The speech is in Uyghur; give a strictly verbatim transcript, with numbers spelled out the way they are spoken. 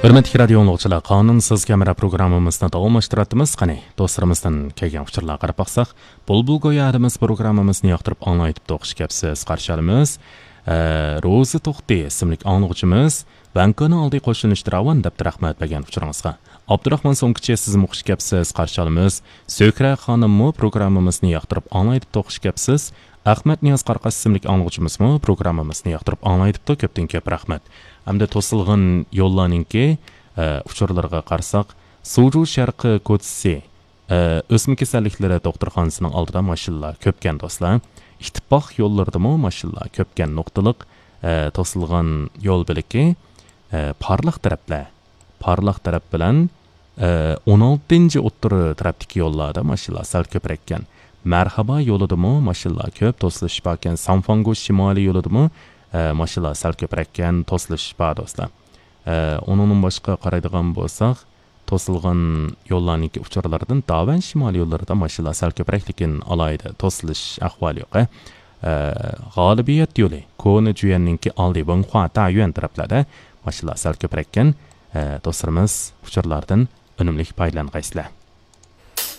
ھۆرمەتلىك رادىئو ئاڭلىغۇچىلار، قانۇنسىز كامېرا پروگراممىمىزنى داۋاملاشتۇراتتىمىز. قېنى، دوستلىرىمىزدىن كەلگەن ئۇچۇرلارغا قاراپ باقساق، بۇلبۇل گويا ئادىمىز پروگراممىمىزنى ياقتۇرۇپ ئاڭلايدىپتۇ، خۇش كەپسىز، قارشى ئالىمىز. ئە، روزى توختى ئىسىملىك ئاڭلىغۇچىمىز، ۋەنكونىڭ ئالدى قوشۇلۇشتى راۋان دەپتۇ، رەھمەت بەرگەن ئۇچۇرىڭىزغا. ئابدۇراخمان سوڭكىچى، سىزمۇ خۇش كەپسىز، قارشى ئالىمىز. سۆھرە خانىممۇ پروگراممىمىزنى ياقتۇرۇپ ئاڭلايدىپتۇ، خۇش كەپسىز. ئەخمەت نىياز قارقاش ئىسىملىك ئاڭلىغۇچىمىزمۇ پروگراممىمىزنى ياقتۇرۇپ ئاڭلايدىپتۇ، كۆپتىن كۆپ رەھمەت. ھەمدە توسۇلغان يوللارنىڭكى، ئە، ئۇچۇرلىرىغا قارىساق، سۇجۇ شەرقىي كوچىسى، ئە، ئۆسمە كېسەللىكلىرى دوختۇرخانىسىنىڭ ئالدىدا ماشىنىلار كۆپكەن، دوستلار. ئىتتىپاق يوللىرىدىمۇ ماشىنىلار كۆپكەن، نۇقتىلىق، ئە، توسۇلغان يول بۆلىكى، ئە، پارلاق تەرەپلەر. پارلاق تەرەپ بىلەن، ئە، ئون ئالتىنچى ئوتتۇرا تەرەپتىكى يوللاردا ماشىنىلار سەل كۆپرەككەن. مەرھابا يولىدىمۇ ماشىنىلار كۆپ، توسۇلۇش باركەن. سانفاڭگو شىمالىي يولىدىمۇ، ئە، ماشىنىلار سەل كۆپرەككەن، توسۇلۇش بار، دوستلار. ئە، ئۇنىڭدىن باشقا قارايدىغان بولساق، توسۇلغان يوللارنىڭكى ئۇچۇرلىرىدىن داۋەن شىمالىي يوللىرىدا ماشىنىلار سەل كۆپرەك، لېكىن ئالاھىدە توسۇلۇش ئەھۋالى يوق. ئە، غالىبىيەت يولى، كونا جۈيەننىڭكى ئالدى، ۋېڭخۇا تايۈەن تەرەپلەردە ماشىنىلار سەل كۆپرەككەن. ئە، دوستلىرىمىز، ئۇچۇرلاردىن ئۈنۈملۈك پايدىلانغايسىلەر.